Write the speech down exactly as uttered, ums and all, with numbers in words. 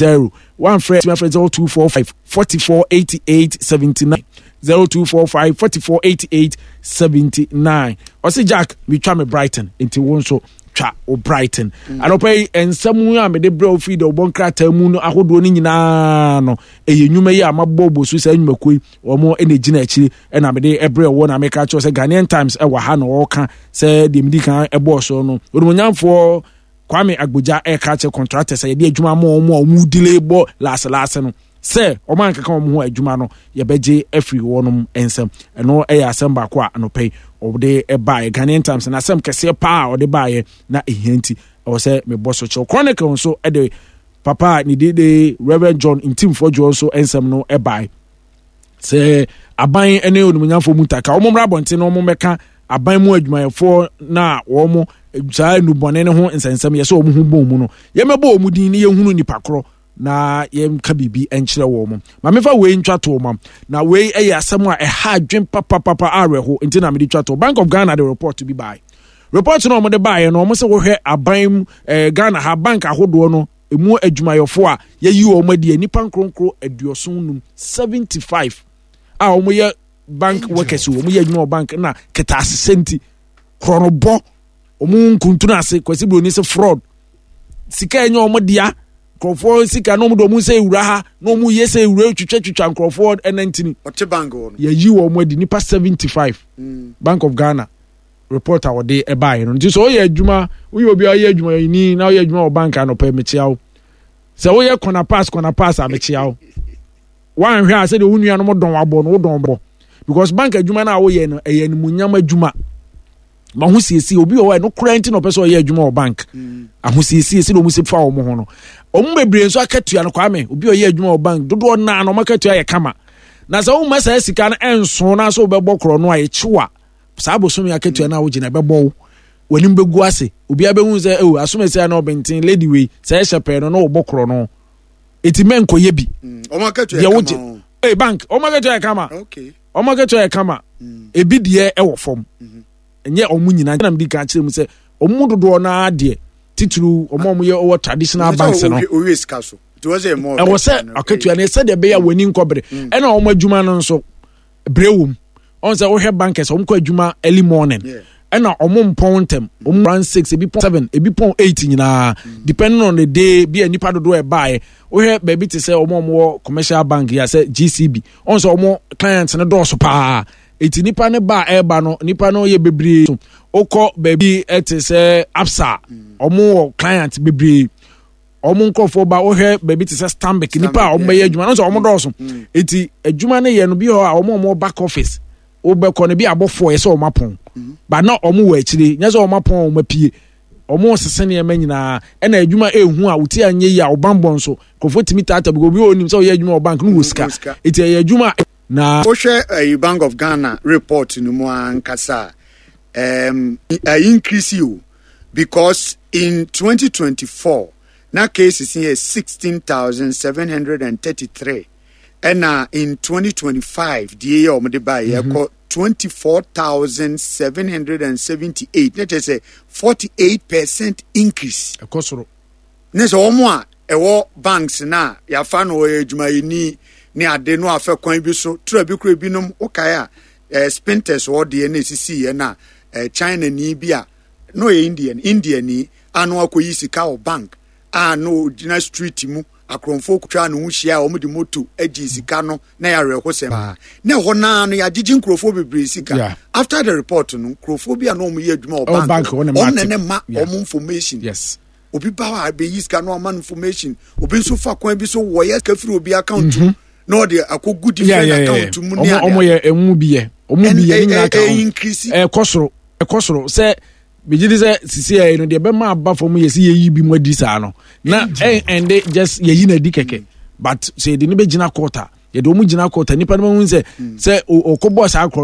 zero one frɛ tumi afrɛ zero two four five forty-four eighty-eight seventy-nine, zero two four five forty-four eighty-eight seventy-nine. Ɔsi Jack, metwa me Brighton, nti wo nso twa o Brighton mm. Anɔpa yi, nsɛm a mede brɛ wo firi dɛ wɔbɔ nkrataa mu no ahodoɔ no nyinaa no, ɛyɛ nnwuma yi a mabɔ bɔ so saa nnwumakuo yi wɔn ɛna gyina akyire ɛna mede ɛbrɛ wɔ. Na meka kyerɛ sɛ Ghanaian Times ɛwɔ ha na wɔka sɛ deɛ medi kan ɛbɔɔ so no, onimonyamfoɔ Kwame Agbogya ɛka kyerɛ contractors a yɛde adwuma ama wɔn a wɔn delay bɔ laaselaase no sɛ wɔn ankeka wɔn ho adwuma no, yɛbɛgye afiri wɔn nsam. Ɛno ɛyɛ asɛm baako a anɔpɛ yi ɔde baeɛ Ghanaian Times, na asɛm kɛseɛ paa a ɔde baeɛ na ehia nti ɛwɔ sɛ mebɔ so kyerɛw. Chronicle nso ɛde papa a ne de de Reverend John Ntim Fordjour nso nsɛm no ɛbaeɛ sɛ aban ne onimonyamfoɔ mu ntaka wɔn mmra abɔnten na wɔn mmɛka aban mu adwumayɛfoɔ na wɔn saa nnubɔne no ho nsɛnsɛm yɛ sɛ wɔn ho bɔn mu no, yɛmɛbɔ wɔn din ne yɛhunu nipa korɔ na yɛnka biribi nkyerɛ wɔn mo. Maame, fa wei ntwa to ma na wei yɛ asɛm a ɛha adwen papapapa awerɛho nti na mede twa to. Bank of Ghana de report bi baeɛ. Report no a wɔde baeɛ no, wɔn sɛ wɔhwɛ aban mu ɛɛ Ghana ha bank ahodoɔ no emu adwumayɛfoɔ a yɛyi wɔn adi, nipa nkronkron aduɔson num, seventy five, a wɔyɛ bank workers, wɔn yɛ adwuma wɔ bank na kɛtɛ asesɛ nti korɔnobɔ, wɔn nkuntun ase Kwasi Buroni sɛ fraud, sika ɛnyɛ wɔn dea, nkurɔfoɔ sika na wɔn de wɔn nsa ewura ha na wɔn yɛ sɛ ewura twitwa twitwa nkurɔfoɔ ɛnantini. Ɔte bank wɔ no. Yɛyi wɔn adi, nipa seventy five. Bank of Ghana report a wɔde ɛbaeɛ no nti sɛ ɔyɛ adwuma, woyɛ obi a ɔyɛ adwumayɛni na ɔyɛ adwuma wɔ bank, anɔpɛ mekyia wo. Sɛ woyɛ corner pass, corner pass a, mekyia wo. Woanhwɛ a, sɛdeɛ wo nuanom dɔn abɔ no, wodɔn bɔ, because bank adwuma no a woyɛ no ɛyɛ animuonyam adwuma ma ho siesie. Obi wɔ hɔ a ɛno koraa nti na ɔpɛ sɛ ɔyɛ adwuma wɔ bank, ahosiesie sɛdeɛ ɔmu si fa wɔn ho no. Ɔmo bebree nso akatua no, Kwame, obi a ɔyɛ adwuma wɔ bank dodoɔ naa na ɔmo akatua yɛ kama, na sɛ woma saa sika no ɛnso na sɛ wobɛbɔ korɔ no a, yɛkyew a, saa bosome akatua no a wogyina ɛbɛbɔ wo w'anim bɛgu ase. Obiara bɛhu sɛ ɛwɔ asomasi a na ɔbɛnten lady wei sɛ ɛhyɛ pɛɛ no na wɔbɔ korɔ no, eti mɛnkɔyɛ bi. Ɔmo akatua deɛ yɛ wogye kama o. Ee, bank ɔmo akatua yɛ kama. Okay. Ɔmo akatua yɛ kama. Ebi deɛ ɛwɔ fam, ɛnyɛ ɔmo nyinaa. Nam di kan kyerɛ mu sɛ ɔmo mu dodoɔ naa deɛ, titiriw ɔmo a ɔmo yɛ ɔwɔ traditional banks no. Owie owie sika so. Nti wɔ sɛ ɛmɔ. Ɛwɔ sɛ akatua no sɛdeɛ ɛbɛyɛ a w'ani nkɔbere, ɛna ɔmo adwuma no nso brɛ wɔ mu. Ɔn sɛ wohwɛ bankers, ɔmo kɔ adwuma early morning, Yeah. ɛna ɔmo mpɔn ntɛm. Ɔmo run six, ebi pɔn seven, ebi pɔn eight nyinaa, depending on the day bi a nipa dodoɔ ɛbaeɛ. Wohwɛ baabi te sɛ ɔmo a ɔmo wɔ commercial bank yi a sɛ G C B, ɔn sɛ ɔmo client no dɔɔso paa, eti nipa ne ba a ɛreba no, nipa no yɛ bebree. So wokɔ baabi ɛte sɛ Absa, ɔmo wɔ client bebree, ɔmo nkurɔfoɔ ba. Wohwɛ baabi te sɛ Stanbic, nipa a ɔmo bɛyɛ adwuma no nso ɔmo dɔɔso, eti adwuma no yɛ no bi hɔ a, ɔmo a ɔmo back office, wobɛkɔ no bi abɔfoɔ yɛ sɛ ɔmo apɔn ba na ɔmo wɔ akyire, nyɛ sɛ ɔmo apɔn, ɔmo apue, ɔmo sese nneɛma nyinaa. Ɛna adwuma ehu a wote anyɛ yi a, ɔbanbɔ nso nkurɔfoɔ tumi taata bi. Obi wɔ onim sɛ ɔyɛ adwuma wɔ bank no wɔ sika, sika. Eti ɛyɛ adwuma a na Wohwɛ ɛyi Bank of Ghana report no mu ankasa a, um, uh, increase o, because in twenty twenty-four na cases yɛ sixteen thousand seven hundred thirty-three, ɛna in twenty twenty-five deɛ yɛ ɔmo de ba yɛ kɔ twenty-four thousand seven hundred seventy-eight, ne kyerɛ sɛ forty-eight percent increase. Ɛkɔ soro. Ne sɛ wɔn a ɛwɔ banks na yɛafa no ɔyɛ adwumayɛni ne ade no afɛ kwan bi so tura bi kura binom. Wokae a ɛɛ Spintex hɔ deɛ na esisi yɛ na ɛɛ China ni bi a na ɔyɛ Indian Indian ni a na wakɔyi sika wɔ bank a na ogyina street mu, akorɔmfoɔ kutwa ne ho hyia a wɔn de moto agye sika no, na yɛ awerɛhosɛm paa. Na ɛhɔ naa no yɛagyegye nkurɔfoɔ bebree sika. Yeah. After the report no, nkurɔfoɔ bi a na wɔn yɛ adwuma wɔ Ɛwɔ bank bank hɔ na wɔn na mate. ne ma Yeah. wɔn information. Yes obi ba hɔ a bɛyi sika na ɔma no information. Obi nso fa kwan bi so wɔyɛ sika firi obi account mu na ɔde akɔgu yeah different yeah yeah account mu ne ɔmo ɔmo ade. yɛ emu bi yɛ ɔmo bi yɛ ne nyinaa ka ho. Increase. Ɛkɔ soro, ɛkɔ soro. Sɛ megye di sɛ sisi yɛ no deɛ bɛma aba fam yɛ sɛ yɛyi bi mu adi saa no na ɛn ɛnde just yɛyi na adi kɛkɛ, but sɛ yɛde ne bɛgyina court a, yɛde ɔmo gyina court a, nipa no bɛhu sɛ sɛ ɔkɔbɔ saa korɔ no.